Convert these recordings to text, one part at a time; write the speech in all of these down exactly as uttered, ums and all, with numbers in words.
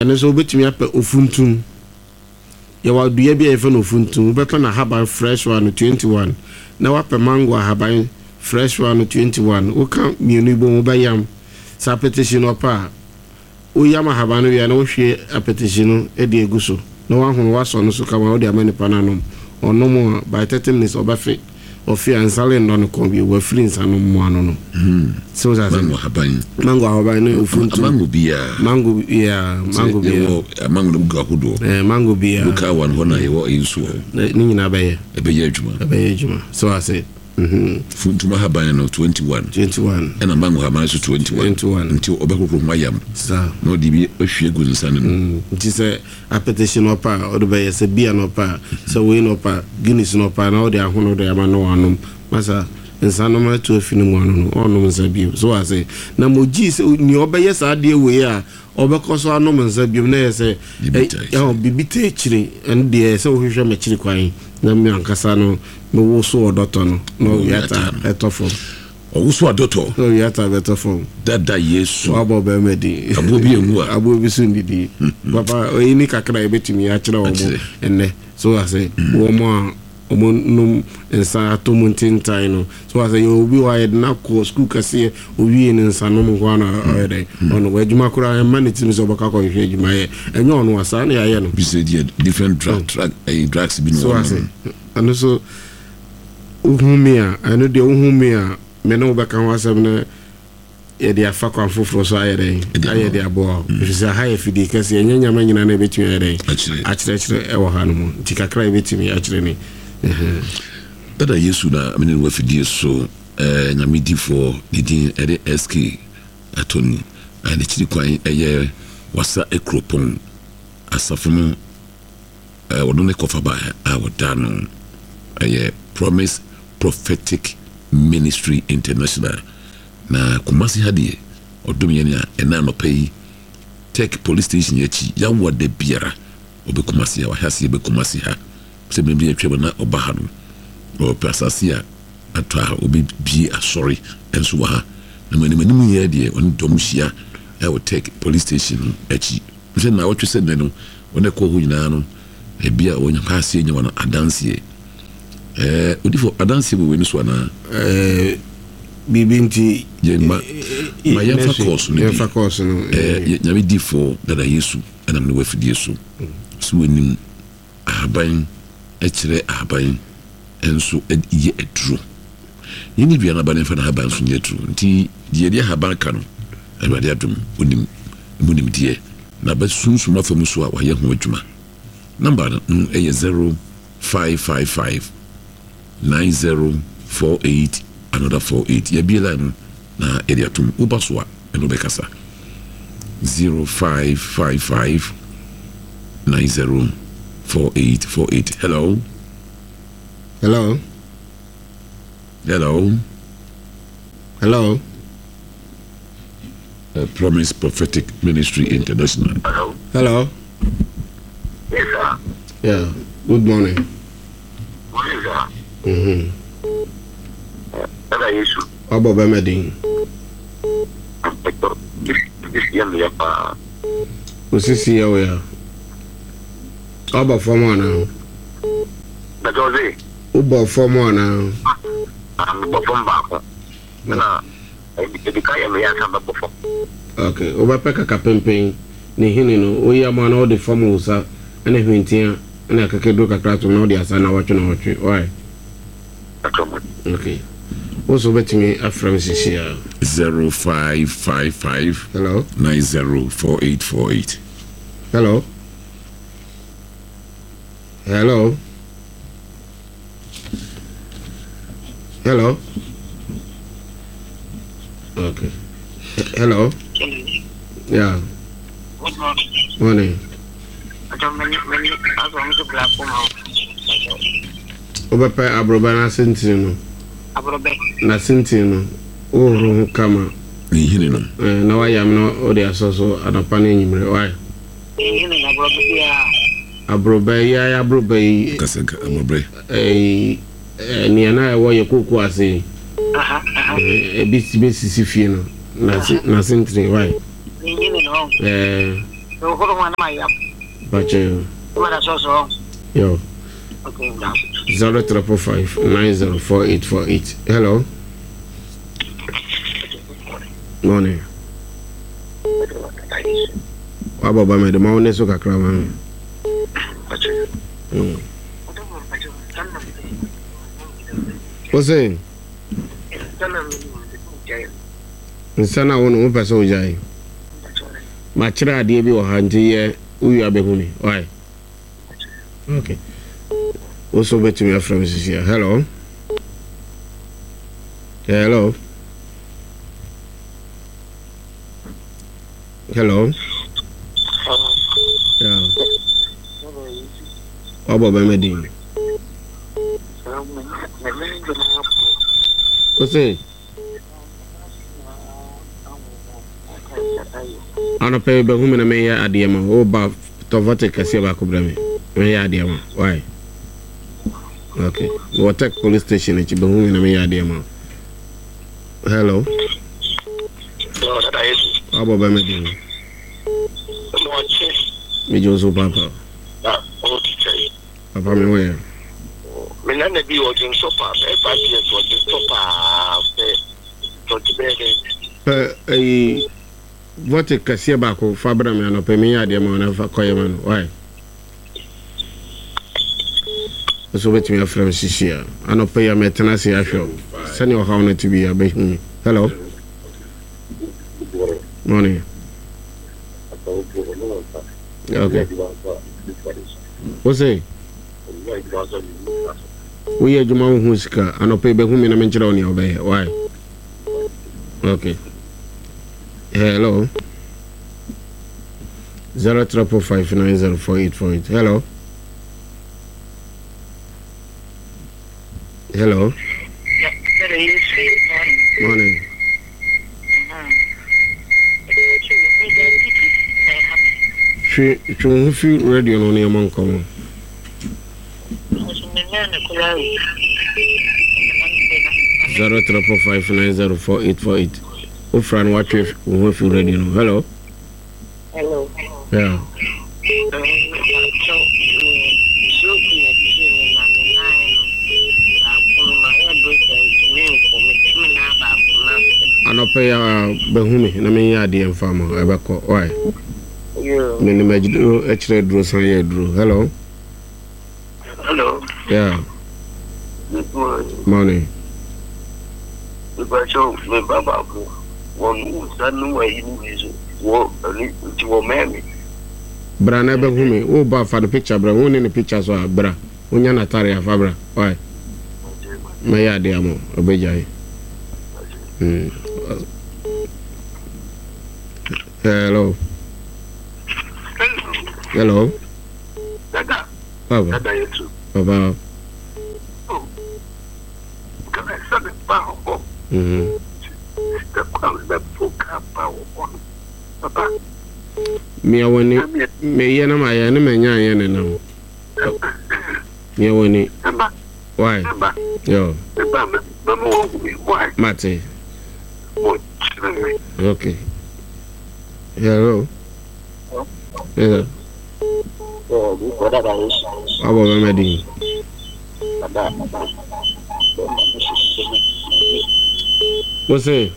Ɛno nso wobɛtumi apɛ ofuntum. Yɛwɔ dua bi a yɛfrɛ no ofuntum. Wobɛpɛ n'ahaban fresh one twenty one na woapɛ mango ahaban fresh one twenty one. Woka mmienu yi bom wobɛyam. Sɛ apɛtɛhyi no ɔpɛ a, woyam ahaban no wie a na wohwie apɛtɛhyi no de agu so na woahono woasɔ no so kama wode ama nipa no anom. Ɔnom a by thirty minutes ɔbɛfe. Ɔfe a nsa rennɔ no kɔn bio, wafiri nsa nom mu ano no. So wote ase? Mango ahaban. Mango ahaban ne ofuntum. Mango biara. Mango yeah, mango biara. Yɛwɔ mango no gu ahodoɔ. Eh, mango biara. Local one hɔ na yɛwɔ eyi nso wɔ hɔ. Ne nyinaa bɛyɛ. Ɛbɛyɛ adwuma. Ɛbɛyɛ adwuma. So ase. Mhm. Funtum ahaban no twenty one. Twenty one. Ɛna mango ahaban nso twenty one. Twenty one. Nti ɔbɛhohoro ho ayam. Saa. Na ɔde bi ahwie gu nsa no mu. Nti sɛ apɛtɛhye na ɔpɛ a, ɔde bɛyɛ, sɛ beer na ɔpɛ a, sɛ wei na ɔpɛ a, Guinness na ɔpɛ a, na ɔde ahono de ama na wanom. Masa, nsa nom atu afi ne mu ano no, ɔnnom nsa bio. So wate? Na mogyee sɛ nea ɔbɛyɛ saa adeɛ wei a, ɔbɛkɔ so anom nsa bio no, na ɛyɛ sɛ ɛ, ɛhɔ, biribi taa akyire. Ɛno deɛ, ɛyɛ sɛ wohwehwɛ m'akyiri kwan, na me ankasa no, mewoso ɔdɔtɔ no, na ɔwia taa ɛtɔ fam. Ɔwoso adɔtɔ. Na owia taa bɛtɔ fam. Dada Yesu. Wabɔ bɛrima din. Aboɔ bi anwu a. Aboɔ bi so nnidi. Papa, eyi ne kakra a yɛbɛtumi akyerɛ wɔn nnɛ. So ase, wɔn a wɔnom nsa atɔ mu ntentan no. So ase, yɛwɔ obi wɔ hɔ a yɛde no akɔ sukuu kɛseɛ, owie no nsanom nko ara na ɔyɛ dɛn? Ɔnom. Adwuma koraa ɛmma ne tirim sɛ ɔbɛkɔ akɔhwehwɛ adwuma yɛ. Ɛnyɛ ɔno a, saa na yɛayɛ no. Bi sɛ deɛ different drug, drug, ɛyi drugs bi na wɔnom. So ase, ɛno nso. Wohu me a, ɛno deɛ wohu me a, me ne wo bɛka ho asɛm na yɛde afa kwan foforɔ so ayɛ dɛn? Ayɛ de aboa wo. Ɛfiri sɛ ha yɛ fidie kɛseɛ, ɛnyɛ nneɛma nyinaa na yɛbɛtumi ayɛ dɛn? Akyerɛkyerɛ ɛwɔ ha no mu. Nti kakra a yɛbɛtumi akyerɛ ni. Dada Yesu na me ne no wɔ afidie so, eh, Nyame difoɔ, ne din ɛde S K Atoni, a n'akyiri kwan ɛyɛ Wassa Akuropɔn Asafo no. Ɔno ne kɔfaba a wɔda no ɛyɛ Promise Prophetic Ministry International. Na Kumasi ha deɛ ɔdom yɛn a ɛna anɔpa yi Tech Police Station akyi yawoa da biara ɔbɛ Kumasi ha, wahyɛ aseɛ bɛ Kumasi ha sɛ mmerɛ bi atwam na ɔba ha no ɔpɛ asase a atɔ a ɔbɛbie asɔre nso wɔ ha. Na mu anim anim yɛ deɛ ɔne dɔm hyia ɛwɔ Tech Police Station no akyi. Sɛ naawɔtwe sɛ nnɛ no, wɔn a ɛkɔɔ hɔ nyinaa no, ebia wɔnya paa aseɛ nya wɔn adanseɛ. Ɛɛ, odifo, adanseɛ wɔ wei no so anaa? Ɛɛ, biribi nti. Yɛn ma, ma yɛmfa kɔɔso no bi. Yɛmfa kɔɔso no. Ɛɛ, Nyame difoɔ dada Yesu ɛnam ne wɔ afidie so. So wɔnim ahaban kyerɛ ahaban nso yɛ aduro. Yɛnni dua no aba na yɛmfa n'ahaban nso nyɛ aduro. Nti deɛ yɛde ahaban ka no, Awurade adom, onim emu nimdeɛ, na bɛ sunsum afa mu so a wayɛ ho adwuma. Number no yɛ zero five five five nine zero four eight another four eight. Yɛabue line no na yɛde atom. Woba so a, ɛne wo bɛkasa. Zero five five five nine zero four eight four eight. Hello. Hello. Hello. Hello. Uh, Promise Prophetic Ministry International. Hello. Hello. Yes, sir. Yeah. Good morning. Morning, sir. Mm-hmm. Dada Yesu. Wabɔ bɛmɛ din. Sisi yɛ meyɛ paa. Osisi yɛ wo ya. Wabɔ fam anaa? Bɛtɛ ɔse. Wobɔ fam anaa? Ah, mebɔ fam baako. Na edi ka yɛ meyɛ ansa bɛbɔ fam. Okay, wobɛpɛ kaka pempen ne hene no, woyi ama na wode fam wo nsa ne hwentia ne akakaduro kakra tom na wode asa nawɔtwe nawɔtwe. Why? Okay. Wo nso wobɛtumi afrɛ me sisi a. Zero five five five Hello. nine zero four eight four eight. Hello. Hello. Hello. Okay. Hello. Yeah. Good morning. Morning. Wobɛpɛ aborɔbɛ no ase ntini no. Aborɔbɛ. N'ase ntini no, wohoro ho kama. Ne nhini no. Eh, na wayam na wode asɔ so anɔpa ne anwummere. Why? Nhini no, aborɔbɛ biara. Aborɔbɛ yi ayɛ aborɔbɛ yi. Kasa nka aborɔbɛ. Ɛyi, nea na ɛwɔ yɛ kooko ase yi. Ebi bɛsisi fie no. N'ase n'ase ntini. Why? Ne nhini no. Ɛɛ. Bakyɛ. Yo. Zero triple five nine zero four eight four eight. Hello. Morning. Wabɔ ba mɛ de ma wo ne so kakra ma me. Mm. Wo se? Nsa na wo no wopɛ sɛ wogyae. Makyerɛ adeɛ bi wɔ ha nti yɛ wowie abɛhu me. Why? Okay. Wo so wobɛtumi afrɛ me sisi a. Hello. Hello. Hello. Yeah. Wabɔ bɛmɛ din. Wo se? Anɔpɛ yi bɛhu me na menyɛ adeɛ ma wo ba tɔvɔte kɛseɛ baako brɛ me menyɛ adeɛ ma why okay mewɔ tech police station akyi bɛhu me na menyɛ adeɛ ma hello wabɔ bɛmɛ din megye wo so papa papa me ho yɛ me nana bi ɔdwonsɔ paa bɛyɛ five years ɔdwonsɔ paa pɛ tɔnti bɛyɛ dɛ pɛ ɛyi vote kɛseɛ baako fa brɛ me anɔpɛ menyɛ adeɛ ma wo na fa kɔyɛ ma no why nso wobɛtumi afrɛ me sisi a anɔpɛ yi a mɛtena ase ahwɛ wo sɛnea ɔhaw no te bi a bɛhu me. Hello. Morning. Okay. Wo se woyɛ adwuma wo ho sika anɔpɛ yi bɛhu me na menkyerɛ wo nea wobɛyɛ why okay. Hello. Zero triple five nine zero four eight four eight. Hello. Hello. Morning. Twe twe wo ho fi radio no ne yɛmmɔ nkɔmmɔ. Zero triple five nine zero four eight four eight. Wofra no watwe wo ho fi radio no. Hello. Hello. Yeah. Anɔpɛ yi a bɛhu me na menyɛ adeɛ mfa ma ɛbɛkɔ. Why? Menim aduro kyerɛ aduro san yɛ aduro. Hello. Hello. Yeah. Good morning. Morning. Mepakyɛw me ba baako wɔn nsa no wɔ ayi no bi so wɔ ɛne nti wɔ mɛn me. Bra na ɛbɛhu me. Wo ba fa no picture bra. Wo ne ne picture so a bra. Wonya n'atare afa bra. Why? Mɛyɛ adeɛ ama wo. Ɔbɛgyae. Mm. Hello. Hello. Dada. Papa. Dada yetu. Papa. Oh. Kana sɛ ba hɔ. Mhm. Papa. Mia wani. Me yɛ na ma yɛ ne ma nya yɛ ne nam. Mia wani. Why? Yo. Mate. Okay. Hello. Hello. Wabɔ bɛmɛ din. Wo se?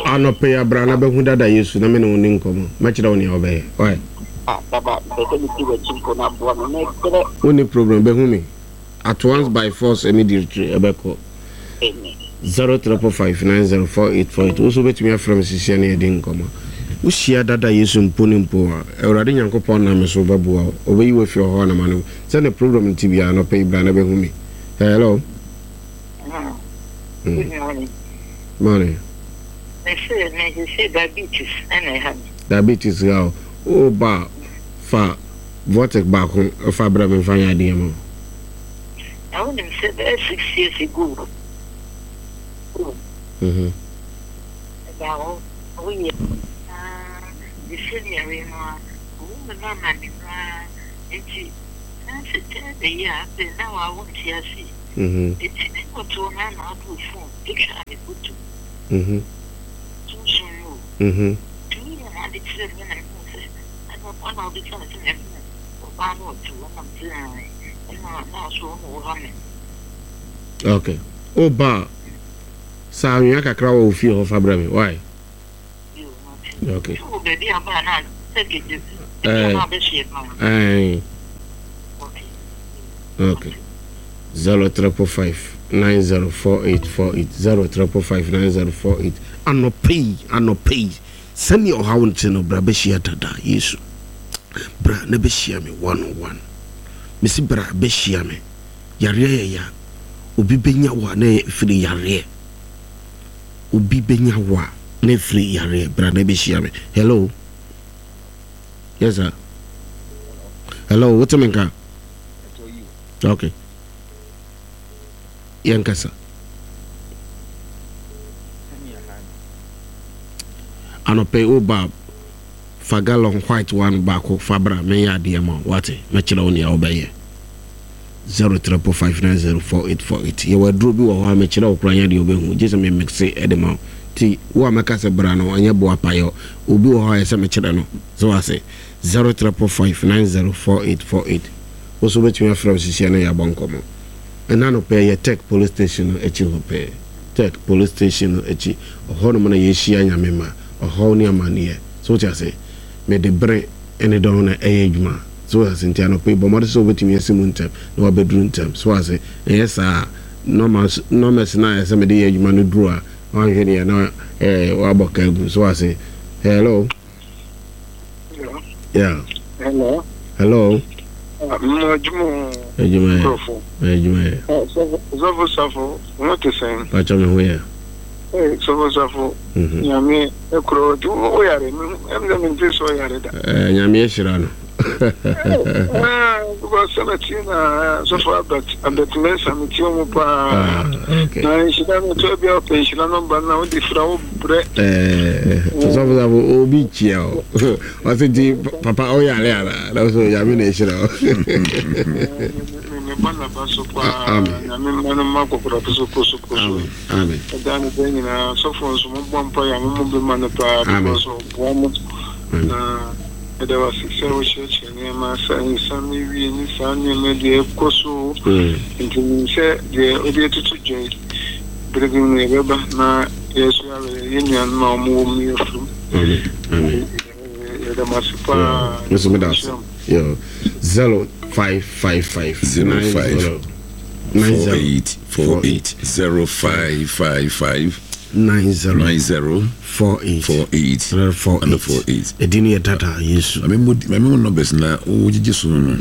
Anɔpɛ yi abra na bɛhu dada Yesu na me ne wo ni nkɔmmɔ. Mɛkyerɛ wo nea wobɛyɛ. Why? Wonni problem bɛhu me. At once by force immediately ɛbɛkɔ. Zero triple five nine zero four eight four eight. Wo nso wobɛtumi afrɛ me sisia ne yɛdi nkɔmmɔ. Wohyia dada Yesu mpo ne mpo a, Awurade Nyankopɔn nam me so bɛboa wo. Ɔbɛyi wo afi ɔhaw anamane mu. Sɛdeɛ program no te biara, anɔpa yi bra na bɛhu me. Hello. Good morning. Morning. Me se, me se diabetes ɛna ɛha me. Diabetes ha o. Wo ba fa vortic baako fa brɛ me mfa nyɛ adeɛ ma wo. Na wonim sɛ bɛyɛ six years ago. Mhm. Ɛda hɔ woyɛ the same yare no a owu mu no ama me no a nti na sɛ tɛɛ bɛyi a afei na wawo nte ase. Mhm. Eti ne kɔtɔ na na abo phone etwa me butu. Mhm. Sunsun no. Mhm. Tumi na ade kyerɛ me na me sɛ ɛna ɔna ɔde kyerɛ me sɛ me ɔbaa no ɔte hɔ na me sɛ ɛna na ɔso ɔno wɔ ha me. Okay, woba a saa anwea kakra wɔ wo fie hɔ fa brɛ me, why? Yo, mate. Okay. Sɛ wɔ baabi a baa na sɛ gege Eh. ebi a na abɛhyɛ no. Ɛn. Okay. Okay. Zero triple five nine zero four eight four eight zero triple five nine zero four eight. Anɔpɛ yi, anɔpɛ yi, sɛnea ɔhaw nte no, bra bɛhyia dada Yesu. Bra na bɛhyia me one on one. Mesi bra bɛhyia me. Yareɛ yɛ ya. Obi bɛnya wo a na ɛfiri yareɛ. Obi bɛnya wo a na ɛfiri yareɛ. Bra na bɛhyia me. Hello. Yes sir. Hello, wote me nka? Okay. Yɛnkasa. Anɔpɛ yi woba fa gallon white one baako fa bra, menyɛ adeɛ ma wo, wate? Mɛkyerɛ wo nea wobɛyɛ. Zero triple five nine zero four eight four eight. Yɛwɔ aduro bi wɔ hɔ a mekyerɛ wo koraa nyɛ deɛ wobɛhu, gye sɛ me mixe de ma wo. Nti wo a mɛka sɛ bra no, ɛnyɛ boa payɔ. Obi wɔ hɔ a ɛsɛ mekyerɛ no. So wase zero triple five nine zero four eight four eight. Wo nso wobɛtumi afrɛ wo sisia na yɛabɔ nkɔmmɔ. Ɛna no pɛɛ yɛ Tech police station no akyi hɔ pɛɛ. Tech police station no akyi. Ɔhɔ nom na yɛhyia Nyame ma ɔhaw ne amanneɛ. So wote ase? Mede bere ne dɔn na ɛyɛ adwuma. So wote ase? Nti anɔpa yi bɔ mmɔden sɛ wobɛtumi asi mu ntɛm na wabɛduru ntɛm. So wote ase? Ɛnyɛ saa a, numbers, numbers no a ɛsɛ mede yɛ adwuma no duru a, wanhwɛ deɛ na eh, wabɔ ka agu. So wote ase? Hello? Hello. Yeah. Hello. Hello? Mo adwuma. Adwuma yɛ. Nkurɔfo. Adwuma yɛ. Sɔfo Safo, mo te sɛn? Pakyɛ me ho yɛ. Ee, Sɔfo Safo, Mhm. Nyame ekuro ti wo yare, ɛm sɛ mente sɛ ɔyare da. Eh, Nyame ahyira no. Ah, because sɛ metie na Sɔfo Albert, Albert Mensa metie mu paa. Ah, okay. Na nhyira no tɔ bi a ɔpɛ nhyira no ba na wode fira wo brɛ. Eh, Sɔfo Safo, obi kyia o. Ɔse nti papa ɔyare ana? Na so Nyame na ahyira o. Mebɔ naba so paa. Amen. Nyame mma no mma kɔkɔrɔpo so ko so ko so. Amen. Amen. Ɛda no bɛ nyinaa sɔfo nso mobɔ mpa yɛ mo mo bɛma no paa Amen. because ɔboa mo. Amen. Na ɛda wase sɛ wokyerɛkyerɛ nneɛma sɛ nsa ne wie ne saa nneɛma deɛ ɛkɔ so. Mm. Nti nim sɛ deɛ wode atutu dwa yi, bere bi mu yɛbɛba na yɛso yɛawɛ yɛn nuanom a wɔwɔ mu yɛfiri. Amen. Amen. Yɛda mo ase paa. Yeah. Nso meda ase. Yo. Zero five five five Zero nine five zero nine four zero eight four eight zero five five five nine zero nine zero four eight four eight three four and eight. four eight. Ɛdi no yɛ dada Yesu. Mame mo mame mo numbers na wo gyegye so no.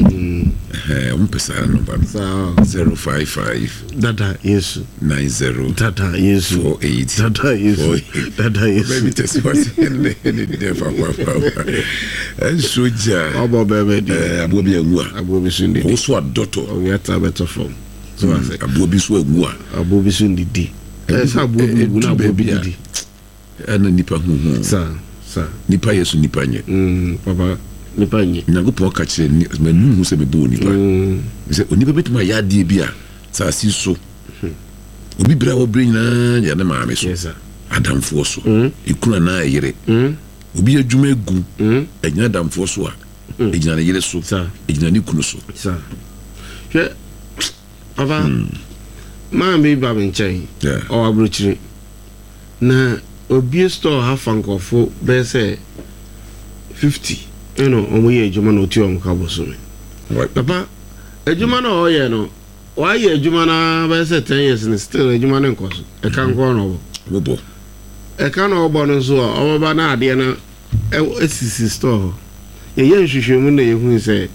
Eh, wo mpɛ saa number no. Saa Zero five five dada Yesu. nine zero Dada Yesu. four eight Dada Yesu. four eight. Dada Yesu. Baby test what ne ne ne fa fa fa. Enso gya. Ɔbɔ bɛɛbɛ di. Eh, aboa bi anwu a. Aboɔ bi so ndidi. Wo so adɔtɔ. Ɔwia ta bɛtɔ fam. So wa sɛ Aboa bi so anwu a. aboɔ bi so ndidi. Ɛsɛ aboɔ bi wu na aboɔ bi didi. Ɛna nipa hu hu. Saa saa. Nipa yɛ so nipa nyɛ. Mm, papa nipa nye. Nyankopɔn ka kyerɛ ni manu hu sɛ mebɔ onipa. Mm, Sɛ onipa bɛtumi ayɛ adeɛ bi a saase so. Obi bere a wɔbrɛ nyinaa yɛ ne maame so. yes sir. Adamfoɔ so. Mm. Ekunu anaa ɛyere. Mm, Obi adwuma egu. mm, Ɛgyina adamfoɔ so a. Ɛgyina ne yere so. Saa. Ɛgyina ne kunu so. saa. Hwɛ papa maa bi ba me nkyɛn. Yeah. Ɔwɔ aburokyire. Na obie store ha fa nkɔfo bɛyɛ sɛ fifty ɛna ɔmo yɛ adwuma na otua ɔmo ka bosome. Right. Papa adwuma na ɔyɛ no wayɛ adwuma na bɛyɛ sɛ ten years no still adwuma no nkɔ so. Ɛka nkɔ na ɔbɔ. Wobɔ. Ɛka na ɔbɔ no nso a ɔbɛba na adeɛ no ɛwɔ esisi store hɔ. Yɛyɛ nhwehwɛmu na yɛhu sɛ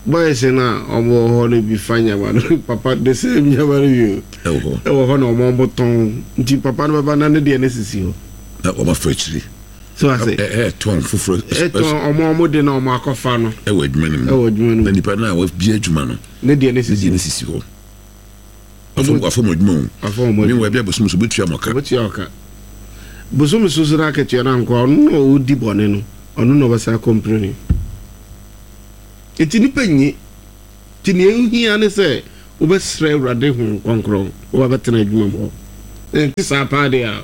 boys no a ɔmo wɔ hɔ no bi fa nyama no, papa, the same nyama no bi o. Ɛwɔ hɔ. Ɛwɔ hɔ na ɔmo ɔmo tɔn, nti papa no bɛba na ne deɛ no sisi hɔ. Na wɔn afa akyire. So ase Ɛ ɛtɔn foforɔ. Ɛtɔn ɔmo ɔmo de na ɔmo akɔfa no. Ɛwɔ adwuma no mu. Ɛwɔ adwuma no Na mu. nipa no a wabie adwuma no. Ne deɛ no Ne sisi deɛ no hɔ. sisi hɔ. Afɔm afɔm adwuma o. Afɔ ɔmo Mi adwuma. wɔ ebi abosom so obetua mo ka. Obetua ɔka bosom soso no akatua no ankɔ, ɔno na ɔdi bɔne no, ɔno na ɔbɛsa akɔmprene. Nti nipa nyi nti nea ehia ne sɛ Wobɛsrɛ Awurade Honhom Kronkron na wabɛtena adwuma mu hɔ. Ɛnte saa paa deɛ a,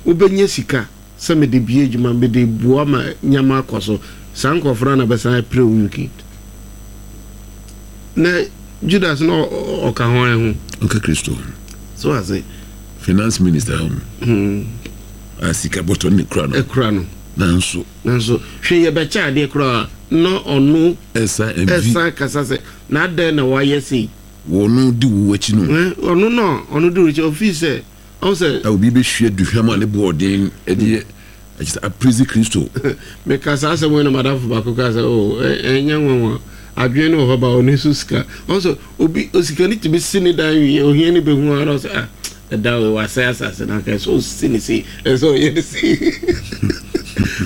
wobɛnya sika sɛ mede bue adwuma, mede boa ma nneɛma akɔ so. Saa nkurɔfoɔ no ara na bɛsan apire wo wicked. Na Judas na ɔka hwan ho? Ɔka Kristo ho. So ase. Finance minister ho. Hmm. A sika bɔtɔ ne kura no. Ekura no. Nanso. Nanso hwɛ yɛbɛkyɛ adeɛ koraa na ɔno. Ɛsan ɛvi. Ɛsan kasa sɛ na adɛn na wayɛ sei. Wɔno di wo akyi no. Ɔno na ɔno di wo akyi ofii sɛ ɔn sɛ. A obi bɛhwie aduhwam a ne bo ɔden de ɛkyɛ sɛ aprezi Kristo. Meka saa asɛm wei na madamfo baako kaa sɛ oh ɛnyɛ nwanwa adwene no wɔ hɔ ba ɔno nso sika ɔn sɛ obi osikani tumi si ne dan wie ohia ne bɛhu ara ɔsɛ ah ɛda wei wasɛe asase no anka ɛsɛ ɔsi ne sei ɛsɛ ɔyɛ ne sei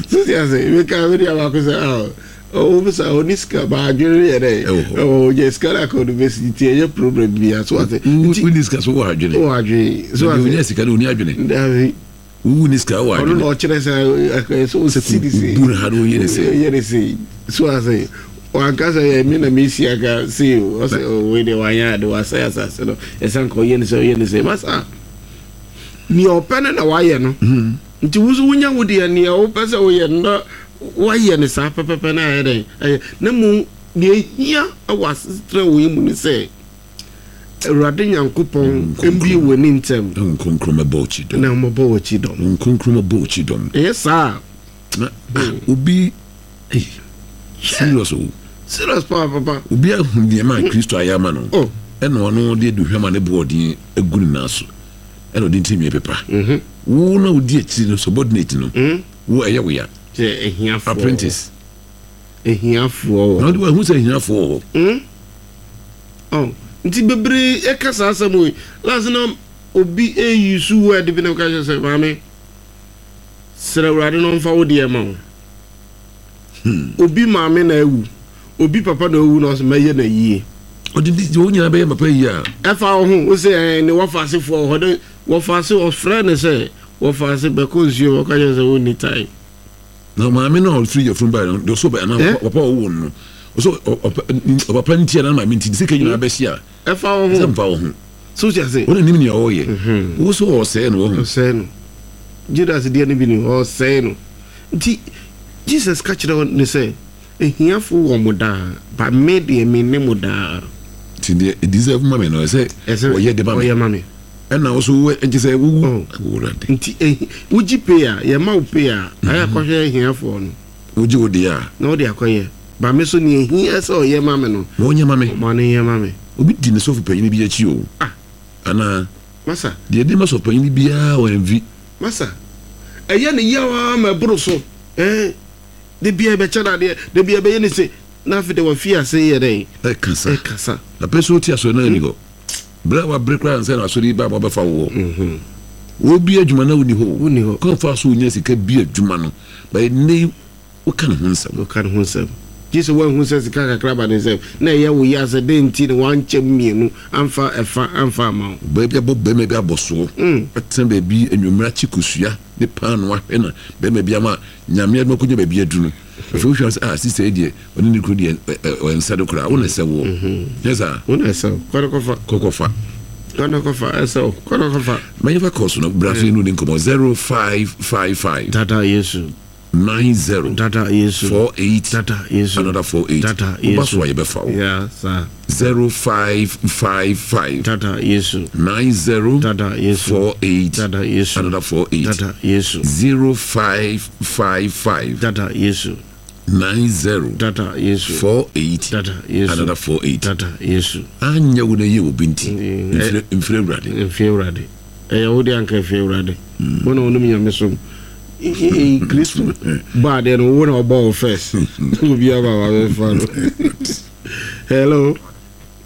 so ti ase meka me nua baako sɛ ah Ɔwɔ mu saa, ɔni sika, ba adwene no yɛ dɛ. Ɛwɔ hɔ, ɔnya sika no aka ɔde bɛsi nti ɛnyɛ problem bia. So ate? Nti wonni sika so wɔ adwene. Wɔ adwene. So ate? Ɔnya sika no ɔni adwene. Dabi. Wowu ni sika wɔ adwene. Ɔno na ɔkyerɛ sɛ ɛsɛ ɔsi ne se. Bu ne ha na ɔyɛ ne se. Ɔyɛ ne se. So ase? Wanka sɛ yɛ me na mesi aka se o. Ɔsɛ wei deɛ wanyɛ ade wasɛe asase no. Ɛsɛ nka ɔyɛ ne se ɔyɛ ne se. Masa nea ɔpɛ no na wayɛ no. Nti wo nso wonya wo deɛ nea wopɛ sɛ woyɛ no na woayɛ no saa pɛpɛpɛ na ayɛ dɛn ɛyɛ na mmom deɛ ɛhia wɔ asetena wei mu ne sɛ Awurade Nyankopɔn mbue w'ani ntɛm. Na Honhom Kronkron mmɛbɔ w'akyi dɔm. Na ɔmmɛbɔ w'akyi dɔm. Honhom Kronkron mmɛbɔ w'akyi dɔm. Ɛyɛ saa a. Na ah, obi hey, serious o. Serious paa papa. Obi ahu nneɛma a Kristo ayɛ ama no. Oh. Ɛna ɔno de aduhwam a ne bo ɔden agu ne nan so. Ɛna ɔde ntirinwi pepa. Mhm. Wo na wodi akyiri no, subordinate no, Mm. wo ɛyɛ wo ya. Sɛ ahiafoɔ. Apprentice. Ahiafoɔ wɔ hɔ. Na wode wahu sɛ ahiafoɔ wɔ hɔ. Mm. Oh, nti bebree ɛka saa asɛm wei. Last na obi ɛyi su word bi na ɔka kyerɛ sɛ maame srɛ Awurade na ɔmfa wo deɛ ma wo. Hmm. Obi maame na awu, obi papa na awu na ɔsɛ mɛyɛ na yie. Ɔde di wɔn nyinaa bɛyɛ papa yie a. Ɛfa wo ho, wo sɛ ɛɛ ne wɔfa asefoɔ wɔ hɔ de wɔfa ase ɔfrɛ ne sɛ wɔfa ase bɛkɔ nsuo ɔka kyerɛ sɛ wonni time. Na maame no a ɔfiri yafunu baeɛ no deɛ ɔsɛ ɔbɛ anaa papa a ɔwoo no no ɔsɛ ɔpapa nti anaa maame nti ne sika nyinaa bɛhye a. Ɛfa wo ho. Ɛsɛ mfa wo ho. So wote ase? Wɔn nim nea ɔreyɛ. Wo so ɔresɛe no wahu. Ɔsɛe no. Judas deɛ no bi ni ɔresɛe no. Nti Jesus ka kyerɛ ne sɛ ahiafo wɔ mo daa but me deɛ me ne mo daa. Nti deɛ ɛdeserve ma me no ɛsɛ ɔyɛ de ma me. Ɔyɛ ma me. Ɛna wo so wo nti sɛ wowu. Oh. Awurade. Nti ehi wogye pay a yɛma wo pay a ayɛ akɔhwɛ ahiafoɔ no. Wogye wo deɛ a. Na wode akɔyɛ. Ba me so nea ehia sɛ ɔyɛ ma me no. Ma ɔnyɛ ma me. Ma no nyɛ ma me. Obi di ne sɔfo panyin bi akyi o. Ah. Anaa. Masa. Deɛ ɛdi ma sɔfo panyin biara ɔnvi. Masa. Ɛyɛ ne yaw ara ma ɛboro so. Ɛɛ. Da biara yɛbɛkyɛ no adeɛ, da biara yɛbɛyɛ no sei. Na afei deɛ wafi ase yɛ dɛn? Ɛkasa. Ɛkasa. Na pɛ sɛ ɔte asɔre no ani hɔ. Berɛ a wabrɛ koraa ansa na asɔre yi ba ma ɔbɛfa wo hɔ. Wɔbi adwuma na wonni hɔ o. Wonni hɔ. Kwan fa so wonya sika bi adwuma no. But nnɛ yi woka ne ho nsɛm. Woka ne ho nsɛm. Gye sɛ woanhu sɛ sika kakra ba ne nsam na ɛyɛ wo ya sɛ dɛn nti na wankyɛm mmienu amfa ɛfa amfa amma wo. Ɔbaa bi abɔ barima bi abɔsoɔ. Atena baabi anwummerɛ akye kosua ne paanoo ahwɛ na barima bi ama Nyame adom akɔnya baabi aduru no. Afei wohwɛ a sɛ ah sista yi deɛ ɔne ne kunu deɛ ɛnsɛ no koraa wo na ɛsɛ woɔ nyɛ saa wo na ɛsɛ wo kɔ na kɔfa kɔ kɔfa kɔ na kɔfa ɛsɛ wo kɔ na kɔfa ma yɛmfa kɔɔ so no bra so yɛne wo nkɔmmɔ zero five five five dada Yesu nine zero dada Yesu four eight dada Yesu another four eight dada Yesu woba so a yɛbɛfa wo yeah saa zero five five five dada Yesu nine zero dada Yesu four eight dada Yesu another four eight dada Yesu zero five five five dada Yesu nine zero dada Yesu four eight dada Yesu another four eight dada Yesu. Anyɛ wo na ɛyɛ obi nti mfiri mfiri Awurade. Mfiri Awurade ɛyɛ wo deɛ anka ɛfiri Awurade wo na wonim nyamesom Kristo bɔ adeɛ no wo na ɔbɔ wo first obi aba wabɛfa no. Hello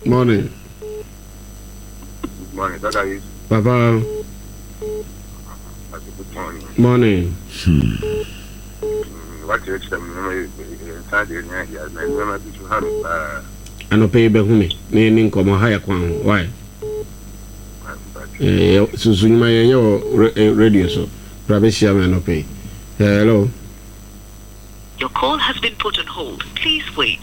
morning. Good morning, Dada Yesu. Papa. Good morning. Morning. Hmm. Wakyerɛkyerɛ me nneɛma bebree, nsa deɛ nea yɛ na nneɛma bi so ha me paa. Anɔpa yi bɛhu me na yɛni nkɔmmɔ ha yɛ kwan ho. Why? Susu nnwuma yɛnyɛ wɔ radio so. Bra bɛhyia me anɔpa yi. Hello. Your call has been put on hold. Please wait.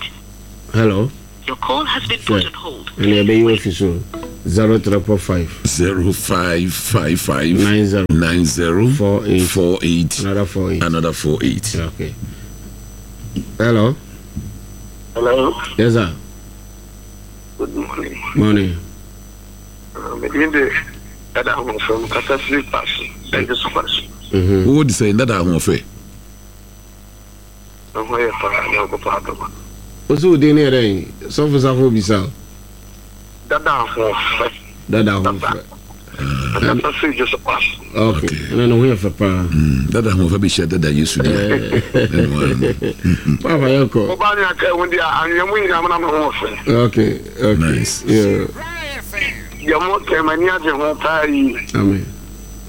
Hello. Your call has been put on hold. Ɛnna ɛbɛyi wɔ fi so zero triple five. Zero five five five. Nine zero. Nine zero. Four eight. Four eight. Another four eight. Another four eight. Okay. Hello. Hello. Yes, sir. Good morning. Morning. Medin de dada ahoɔfɛ kasa firi paase ɛgye so paase. Wo di sɛ dada ahoɔfɛ. Ɛho yɛ paa na ɔkɔ paa dɔma. O sɛ o den ne yɛrɛ yi sɔfo safo bisa o. Dada ahoɔfɛ. Dada ahoɔfɛ. Kasa firi gye so paase. Okay. Ɛna ne ho yɛ fɛ paa. Dada ahoɔfɛ bɛ hyia dada Yesu deɛ. Papa yɛ kɔ. Ɔbaa ni aka ɛho deɛ anwea mu nyinaa na me ho fɛ. Okay. Okay. Nice. Yeah. Deɛ mo kɛ m'ani agye ho paa yi. Amen.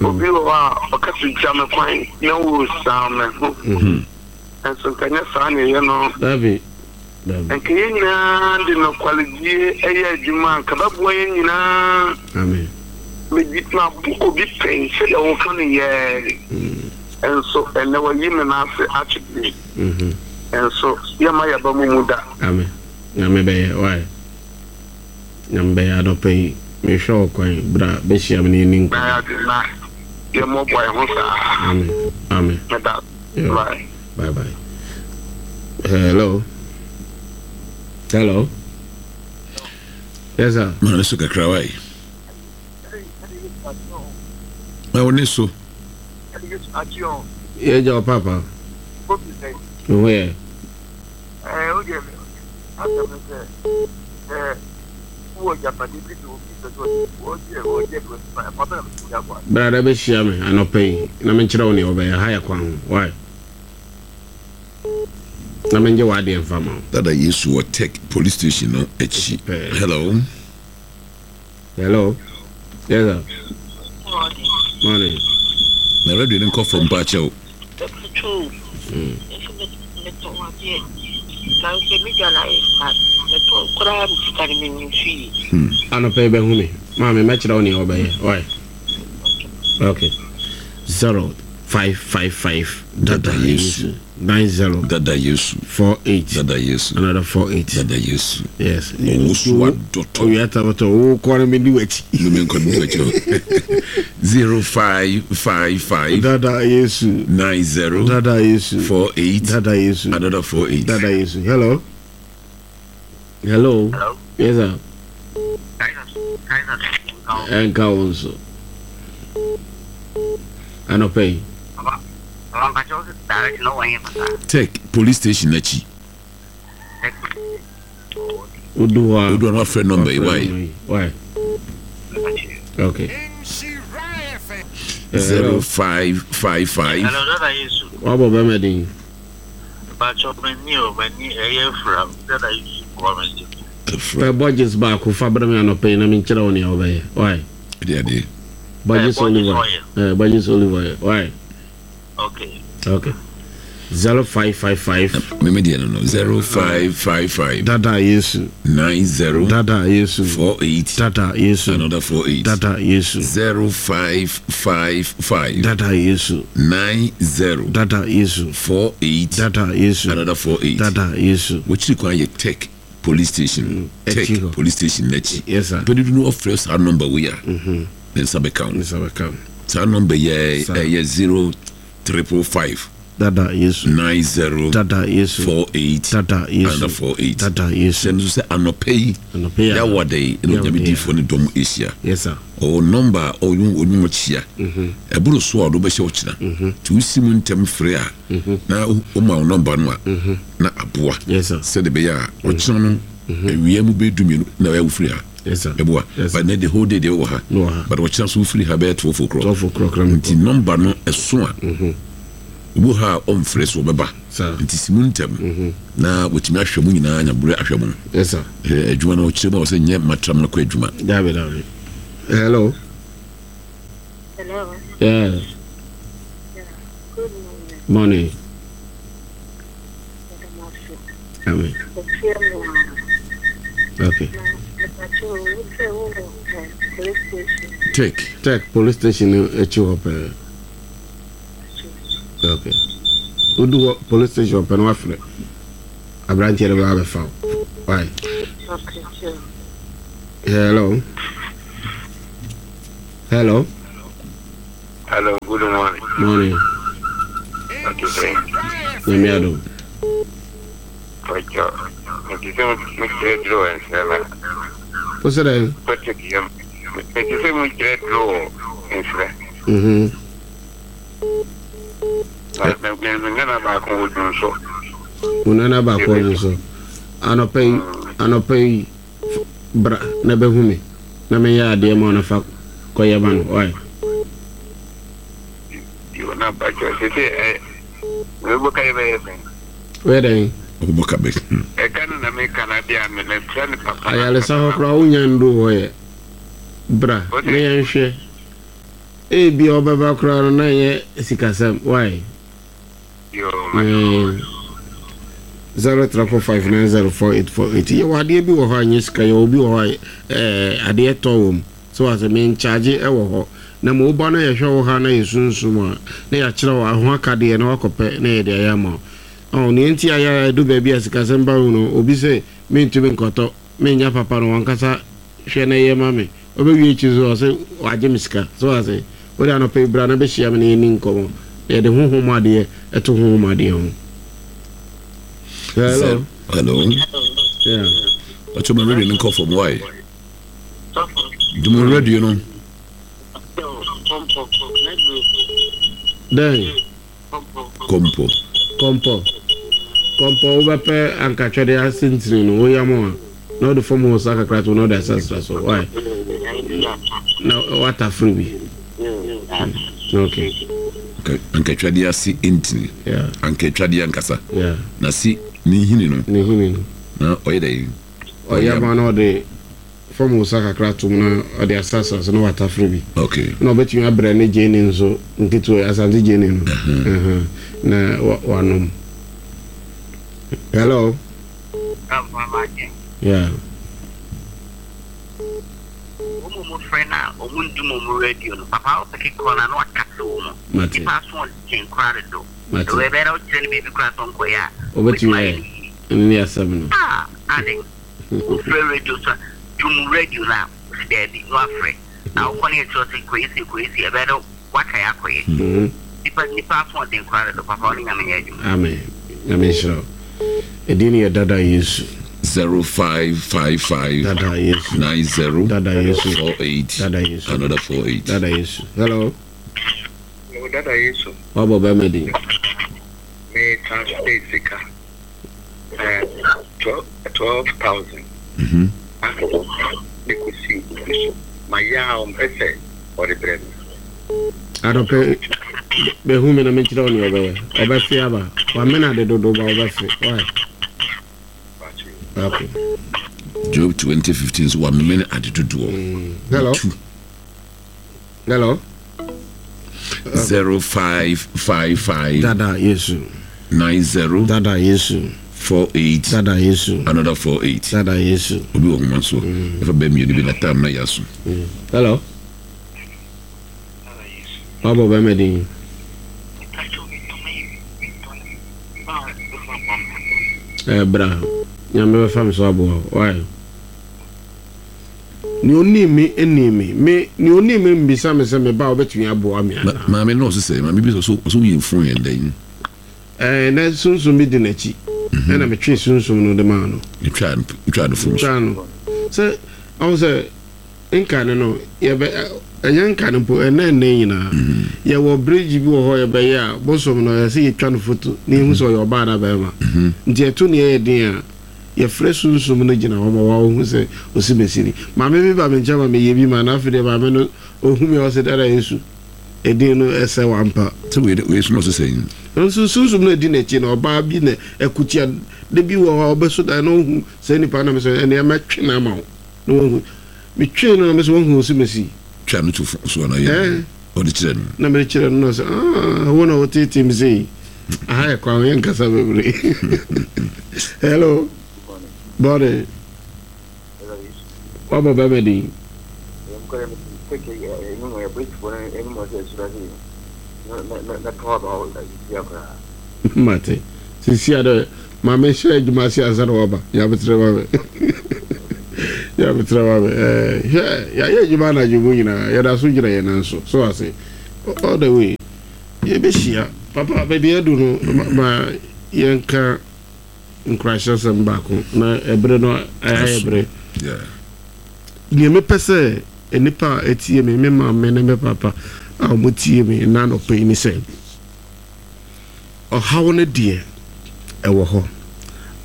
Obi wɔ hɔ a ɔka si gya me kwan na wo saa me ho. Nso nka nyɛ saa na ɛyɛ no. Dabi. Dabi. Nka yɛn nyinaa de nɔkwalidie ɛyɛ adwuma nka bɛboa yɛn nyinaa. Amen. Medi ma bu obi pɛn sɛdeɛ wɔka no yɛɛ. Nso ɛnɛ wɔyi me n'ase atwetwe. Nso yɛma yɛba mu mu da. Amen. Nyame bɛyɛ wae. Nyame bɛyɛ adɔpɛ yi. Mehwɛ wo kwan bra bɛhyia me ne yɛni nkɔmmɔ. Na yɛade na yɛmmɔbɔ yɛn ho saa. Amen. Amen. Meda. Yeah. Bye. Bye bye. Hello. Hello. Yes sir. Maa ne so kakra wae. Ma wo ne so. Yɛ gya wo papa. Me ho yɛ. Brada bɛhyia me anɔpa yi na menkyerɛ wo nea wɔbɛyɛ ha yɛ kwan ho. Why? Na mengye w'adeɛ mfa ma wo. Dada Yesu wɔ Tech police station no akyi. Hello. Hello. Yes sir. Morning. Na radio no nkɔ fam pa kyɛw. Anɔpa yi bɛhu me. Maame mɛkyerɛ wo nea wɔbɛyɛ. Why? Okay. Zero five five five. Dada Yesu. Nine zero. Dada Yesu. Four eight. Dada Yesu. Another four eight. Dada Yesu. Yes. Owusu adɔtɔ. Owia tabatɔ. Wo kɔ no mi di w'akyi. Numi nkɔ mi di w'akyi. Zero five five five. Dada Yesu. Nine zero. Dada Yesu. Four eight. Dada Yesu. Another four eight. Dada Yesu. Hello. Hello. Hello. Yes sir. Ɛnka wo nso. Anɔpa yi. Tech police station akyi. Odu hɔ a. Odu hɔ a wafrɛ number yi why? Why? Okay. Zero five five five. Hello, Dada Yesu. Wabɔ bɛrɛ din. Bàtchɔ mɛ ni o mɛ ni ɛyɛ fura Dada Yesu kɔ mɛ di. Fɛ Borges baako fa bɛrɛ mi anɔpa yi na mi nkyerɛ wo nea wɔbɛyɛ. Why? Ɛdi adi. Borges olive oil. Eh, Borges olive oil. Why? Okay. Okay. Zero five five five. Mímí diẹ no no zero five five five. Dada Yesu. Nine zero. Dada Yesu. Four eight. Dada Yesu. Another four eight. Dada Yesu. Zero five five five. Dada Yesu. Nine zero. Dada Yesu. Four eight. Dada Yesu. Another four eight. Dada Yesu. Wọ́n kwan yɛ Tech police station. Tech police station n'akyi. Yes sir. Pẹ̀lú dunu ɔfrɛ saa number wo ya. Ne nsa bɛ kan. Ne nsa bɛ kan. Saa number yɛ ɛyɛ zero triple five. Dada Yesu. Nine zero. Dada Yesu. Four eight. Dada Yesu. Another four eight. Dada Yesu. Sɛ nso sɛ anɔpɛ yi. Anɔpɛ yi. Yawɔ de yi ɛna onyame diifoɔ ne dɔm ahyia. Yes sir. Ɔwɔ number a ɔno ɔno mo kyia. Ɛboro so a ɔdo bɛhyɛ ɔkyena. Tí o si mu ntɛm fere a. Na o ma o number no a. Na aboa. Yes sir. Sɛde bɛyɛ a ɔkyena no ewia mu bɛ du mmienu na ɔyɛ wofiri ha. Yes sir. Ɛboa. Yes sir. But ne the whole day de wɔ ha. No ha. But ɔkyena so wofiri ha bɛyɛ twelve o'clock. Twelve o'clock. Nti number no ɛso a. Obu ha ɔmfrɛ so ɔbɛba. Nti si mu ntɛm na wɔtumi ahwɛ mu nyinaa nyabere ahwɛ mu. Yes sir. Adwuma no ɔkyerɛ mu a ɔsɛ nyɛ matram no kɔ adwuma. Dabi dabi. Hello. Hello. Yeah. Yeah. Good morning. Morning. Amen. Okay. Tech. Tech police station akyi hɔ pɛɛ. Okay. Udu police station pɛ no wafrɛ. Aberanteɛ no bɛba abɛfa wo. Why? Okay, sure. Hello. Hello. Hello, good morning. Morning. Okay, thank Nyame adom. you. Mete sɛ mekyerɛ duro nsrɛ na Wo sɛ dɛn? Patrick yam. Mete sɛ mekyerɛ duro nsrɛ. Mhm. Na me me nana baako wɔ dun so. Wo nana baako ɔdwo so. Anɔpa yi, anɔpa yi f- bra na bɛhu me na menyɛ adeɛ ma wo na fa kɔyɛ ma no. Why? Yo na bakyɛ sɛ sɛ ɛ mebɔ ka yɛ bɛyɛ sɛn. Woyɛ dɛn? Ɔbɛbɔ ka bɛ. Ɛka no na meka na deɛ a mefrɛ no papa. Ayaresa hɔ koraa wonya ndoo hɔ yɛ. Bra na yɛnhwɛ. Ebia ɔbɛba koraa no na ɛnyɛ sikasɛm. Why? Yo, Mm. Zero triple five nine zero four eight four eight. Yɛwɔ adeɛ bi wɔ hɔ a nyɛ sika yɛwɔ bi wɔ hɔ a ɛɛ adeɛ tɔ wɔ mu. So asɛ menkyagye ɛwɔ hɔ. Na ma woba na yɛhwɛ wo ha na yɛ sunsum a na yɛakyerɛ wo aho akadeɛ na wakɔpɛ na yɛde ayɛ ama wo. Ɔn nea nti a yɛ ɛdu baabi a sikasɛm ba mu no obi sɛ mentumi nkɔtɔ menya papa no wankasa hwɛ na ɛyɛ ma me. Ɔbɛwie akyi so ɔsɛ wagye me sika. So asɛ wode anɔpa yi bra na bɛhyia me na yɛni nkɔmmɔ. Na yɛde honhom adeɛ ɛto honhom adeɛ ho. Hello. Hello. Yeah. Ɔkyɛ ma radio no nkɔ fam wae. Dum radio no. Dɛn? Kɔmpɔ. Kɔmpɔ. Kɔmpɔ wobɛpɛ ankatwɛde asentene no woyam a na wode fam hɔ sa kakra to na wode asasra so. Why? Na watafere bi. Okay. Ankatwadeɛ ase ntini. Yeah. Ankatwadeɛ ankasa. Yeah. Na si ne nhini no. Ne hini no. Na ɔyɛ dɛ. Ɔyam a na ɔde fam hɔ sa kakra to mu na ɔde asasra so na watafere bi. Okay. Na ɔbɛtumi abrɛ ne gyeene nso nketewa asante gyeene no. Uh-huh. Na wa- wanom. Hello. Yeah. Wɔn mu frɛ no a ɔmo ndum ɔmo radio no papa wopɛ kekewa no a na wakase wɔ mu Mate. nipa aso ɔden koraa dodo Mate. ɛwɔ ɛbɛyɛ dɛ wokyerɛ no baabi koraa sɛ ɔnkɔyɛ a Wobɛtumi ayɛ ayɛ. no yie Ɛno ne asɛm no. Ah, ade wofrɛ radio so a dum radio no a wosi daabi na wafrɛ na wokɔ ne yɛkyerɛ sɛ kɔyɛ sei kɔyɛ sei ɛbɛyɛ dɛ waka yɛ akɔyɛ Mhm. nipa nipa aso ɔden koraa dodo papa ɔne nyame yɛ adwuma Amen. Nyame nhyira wo. Ɛdin ne yɛ Dada Yesu. Zero five five five Dada Yesu. nine zero Dada Yesu. four eight Dada Yesu. another four eight. Dada Yesu. Hello. Dada Yesu, Wabɔ bɛrima din. me translate sika. Eh, twelve twelve thousand. Mhm. Ne kɔsi obi so. Ma yɛ a ɔmpɛ sɛ ɔde brɛ me. Adɔpɛ bɛhu me na menkyerɛ wo nea ɔbɛyɛ. Ɔbɛfe aba. Wamena ade dodo ba ɔbɛfe. Why? Okay. Job twenty fifteen so wamene ade dodoɔ. Hello. Two. Hello. Zero five five five Dada Yesu. nine zero Dada Yesu. four eight Dada Yesu. another four eight. Dada Yesu. Obi wɔ homa so. Ɛfa bɛɛ mmienu bi na tam na yɛ aso. Hello. Wabɔ bɛrima din. Ɛ bra. Nyame bɛfa me so aboa wo. Why? Nea onim me anim me. Me nea onim me mbisa me sɛ me ba wobɛtumi aboa me Ma- anaa. Maame no ɔso sɛ maame bi sɛ ɔso ɔso yɛ fon yɛn dɛn. Ɛɛ na sunsum bi di n'akyi. Ɛna metwe sunsum no de maa no. Etwa etwa no fon so. Twa no. Sɛ ɔho sɛ nkane no yɛbɛ ɛnyɛ nkane mpo ɛnɛ ɛnɛ nyinaa. Yɛwɔ bridge bi wɔ hɔ yɛbɛyɛ a bosom no yɛsɛ yɛtwa no foto na yɛhu sɛ ɔyɛ ɔbaa na bɛrima. Nti ɛto ne ɛyɛ den a yɛfrɛ sunsum no gyina hɔ ma wɔahu sɛ osi bɛsi ni. Maame bi ba me nkyɛn ma meyɛ bi ma na afei deɛ maame no ohu me a ɔsɛ dada Yesu. Ɛdin no ɛsɛ wampa. Sɛ wei wei so na ɔso sɛ Nso sunsum no adi n'akyi no ɔbaa bi na ɛkutia de bi wɔ hɔ a ɔbɛso dan na ohu sɛ nipa nam sɛ ɛnea mɛtwe no ama wo na wahu metwe no na mesɛ wahu osi mesi twa no to fon so ana yɛ. Ɛɛ. Ɔde kyerɛ no. Na mede kyerɛ no na sɛ ah wo na wotetee me sei aha yɛ kwan yɛ nkasa bebree. Hello. Bɔde. Wabɔ bɛrima din. Mate. Sisi a dɛ maame hyɛ adwuma ase ansa na waba. Yɛabetere ma me. Yàbẹ̀tẹ̀rẹ̀ wa bẹ̀ ẹ̀ hwɛ yàyɛ adwuma anadwo mu nyinaa, yɛda so gyina yɛn nan so so ase all the way. Yɛbɛhyia papa baabi adu no ma- ma yɛnka nkorahyɛsɛm baako na ɛberɛ no ayɛ berɛ. Yeah. Nea mepɛ sɛ nnipa a ɛtie me, me maame ne me papa a wɔtie me nna anɔpa yi ne sɛ, ɔhaw no deɛ ɛwɔ hɔ,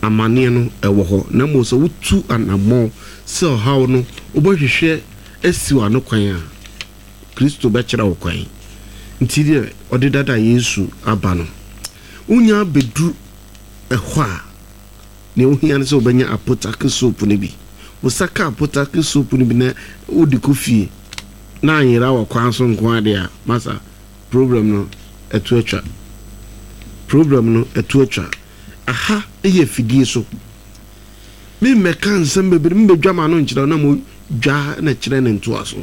amanneɛ no ɛwɔ hɔ, na mmom sɛ wotu anammɔn sɛ ɔhaw no wobɛhwehwɛ asi w'ano kwan a, Kristo bɛkyerɛ wo kwan. Nti deɛ ɔde dada Yesu aba no, wonya bɛduru ɛhɔ a, nea wohia no sɛ wobɛnya apotake soap no bi. Wo ka apotake soap no bi na wode kɔ fie na anyera wɔ kwan so nko adeɛ a, masa, problem no ɛto atwa, problem no ɛto atwa. Aha yɛ afidie so, memmɛka nsɛm bebree, membɛdwa ma no nkyerɛ wo na mo dwa na kyerɛ ne ntoa so.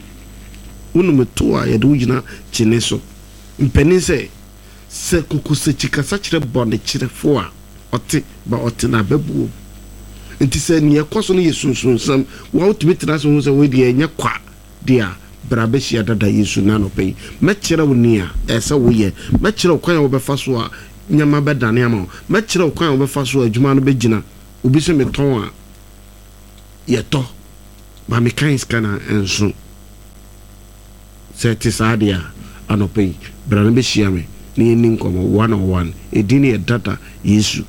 Wonom to a yɛde wo gyina kyene so mpanin sɛ sɛ kokosakyi kasa kyerɛ bɔne kyerɛfo a ɔte ba ɔte na abɛbuo. Nti sɛ nea ɛkɔ so no yɛ sunsunsɛm wa, wotumi tena so ho sɛ wei deɛ ɛnyɛ kwa deɛ a, bra bɛhyia dada Yesu na anɔpɛ yi mɛkyerɛ wo nea ɛsɛ woyɛ, mɛkyerɛ wo kwan a wobɛfa so a nneɛma bɛdane ama wo, mɛkyerɛ wo kwan a wobɛfa so a adwuma no bɛgyina. Obi sɛ metɔn a yɛtɔ ba mekan sika na ɛnso sɛ ɛte saa deɛ a, anɔpɛ yi bra no bɛhyia me na yɛnni nkɔmmɔ one on one. Ɛdin no yɛ Dada Yesu,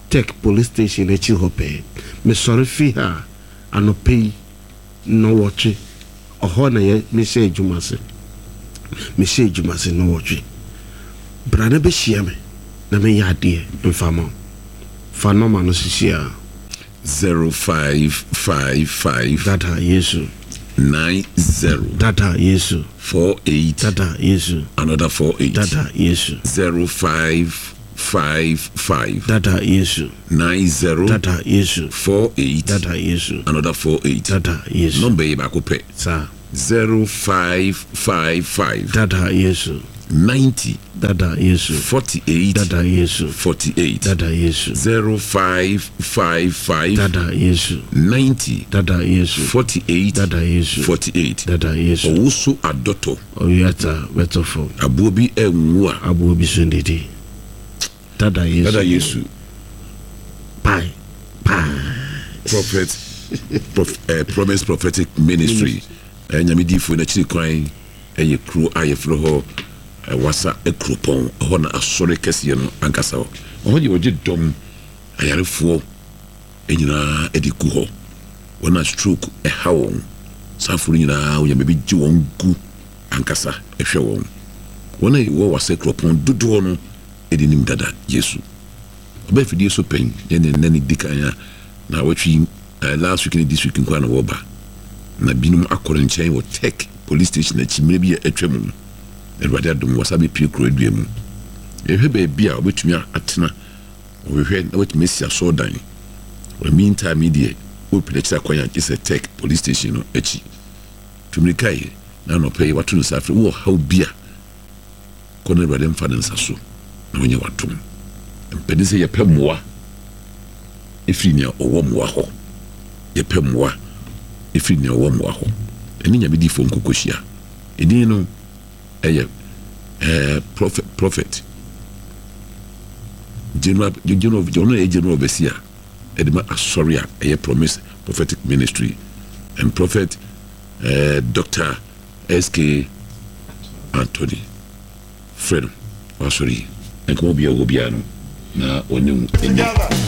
Tech Police Station akyi hɔ pɛɛ. Mesɔre fi ha anɔpɛ yi nnɔwɔtwe, ɔhɔ na yɛ mehyɛ adwuma ase, mehyɛ adwuma ase nnɔwɔtwe. Bra no bɛhyia me na meyɛ adeɛ mfa ma wo. Fa nɔma no sisi a. Zero five five five. Dada Yesu. Nine zero. Dada Yesu. Four eight. Dada Yesu. Another four eight. Dada Yesu. Zero five five five. Dada Yesu. Nine zero. Dada Yesu. Four eight. Dada Yesu. Another four eight. Dada Yesu. Number yi baako pɛ. Saa. Zero five five five. Dada Yesu. Ninety. Dada Yesu. Forty eight. Dada Yesu. Forty eight. Dada Yesu. Zero five five five. Dada Yesu. Ninety. Dada Yesu. Forty eight. Dada Yesu. Forty eight. Dada Yesu. Ɔwoso adɔtɔ. Ɔwiata bɛtɔ fam. Aboɔ bi ɛnwu a. Aboɔ bi so ndidi. Dada Yesu. Dada Yesu. Pai pai. Prophet Prof, uh, Promise Prophetic Ministry, uh, Nyame diifoɔ n'akyiri kwan ɛyɛ kuro a yɛfrɛ hɔ uh, Wasa Kuropɔn. Ɛhɔ na asɔre kɛseɛ no ankasa hɔ. Ɔhɔ deɛ wɔgye dɔm ayarefoɔ nyinaa de gu hɔ, wɔn a stroke ɛha wɔn, saafoɔ no nyinaa Onyame bi gye wɔn gu ankasa ɛhwɛ wɔn. Wɔn a wɔwɔ Wasa Kuropɔn dodoɔ no ɛde nim Dada Yesu. Ɔbɛn fidie so pɛn yɛne nnɛ ne di kan a na wɔtwe uh, last week ne this week nkwa na wɔba, na binom akɔ ne nkyɛn wɔ Tech Police Station akyi mmerɛ bi a atwa mu no. Awurade adom wɔsa bɛpie kuro adua mu. Yɛhwɛ baabi a wɔbɛtumi atena, wɔhwehwɛ na wɔatumi asi asɔɔdan. Wɔ meantime yi deɛ, wɔpɛ n'akyiri akwan a gye sɛ Tech Police Station no akyi. Tumirika yi na anɔpɛ yi wato ne nsa afrɛ wowɔ haw bi a, kɔ na Awurade mfa ne nsa so na wɔnyɛ watom. Mpɛne sɛ yɛpɛ mmoa ɛfiri nea ɔwɔ mmoa hɔ, yɛpɛ mmoa ɛfiri nea ɔwɔ mmoa hɔ. Ɛne Nyame difoɔ nkɔkɔhyia. Ɛdin no ɛyɛ ɛɛ prophet prophet general general, ɔno yɛ general overseer ɛde ma asɔre a ɛyɛ Promise Prophetic Ministry and Prophet ɛɛ Doctor S K Anthony. Frɛ no wasɔre yi, nkɔmɔ bi a ɛwɔ biara no na ɔne wo ɛni.